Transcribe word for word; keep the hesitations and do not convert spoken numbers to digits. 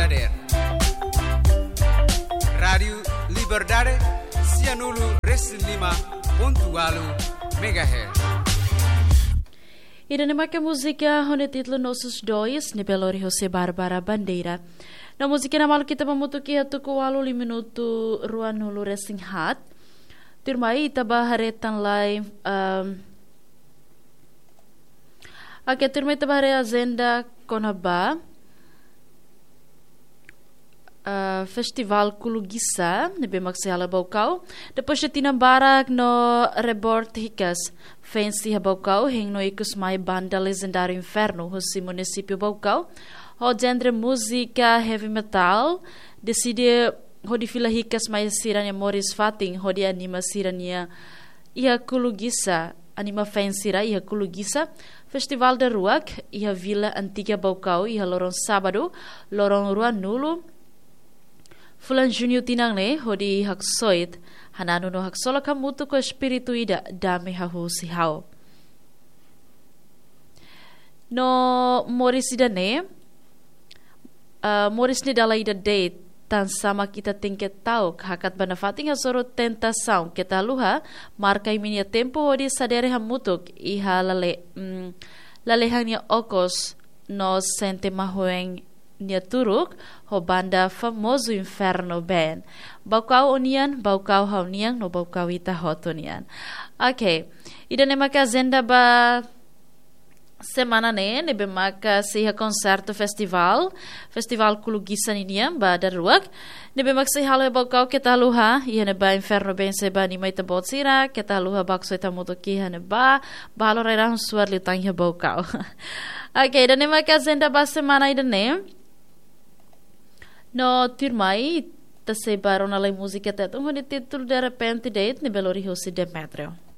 Dader. Rádiu Liberdade, sianulu resin lima pontu walu megahertz. Ida-ne'e maka múzika ho nia títulu Nossos Dois, ne'ebé lori hosi Bárbara Bandeira. No múzika ne'e malu ita ba hamutuk iha tuku ualu, minutu ruanulu resin haat. Tuirmai ita ba haree tan lai, ehm, oke, tuirmai ita ba haree ajenda kona-ba, eh, Festivál Kulu Gisa, ne'ebé mak sei hala'o iha Baucau. Depois de tinan barak no reboot hikas, fans iha Baucau hein no ikus mai banda lejendáriu Inferno, husi munisípiu Baucau, ho genre múzika heavy metal, deside hodi fila hikas mai sira-nia moris fatin, hodi anima sira-nia iha Kulu Gisa, anima fans sira iha Kulu Gisa, festivál daruak iha Vila Antiga Baucau, iha loron sábadu, loron ruanulu fulan Juñu tinan ne'e, hodi haksoit, hananu no haksolok hamutuk ho espíritu ida, Dame Hahú Husi Ha'u. No moris ida-ne'e, ah, moris ne'e dala ida de'it, tansá mak ita tenke ta'uk, hakat ba nafatin hasoru tentasaun, keta haluha marka imi-nia tempu hodi sadere hamutuk iha lale-, mm, lalehan nia okos no sente mahuen nia turuk, ho banda famozu Inferno Band. Baucau ó-nian, Baucau ha'u-nian, no Baucau ita hotu nian. Oke, ida-ne'e maka ajenda ba semana ne'e, ne'ebé maka sei iha konsertu festivál, Festivál Kulu Gisa ninian ba daruak, ne'ebé mak sei hala'o iha Baucau, keta haluha, iha ne'ebá Inferno Band sei ba anima ita-boot sira, keta haluha bá haksoit hamutuk iha ne'ebá, bá halo rai-rahun suar liután iha Baucau. Oke, ida-ne'e maka ajenda ba semana ida-ne'e. No tuirmai, ita sei ba rona lai múzika Tetun ho nia títulu De Repente de'it, ne'ebé lori hosi Demetrio.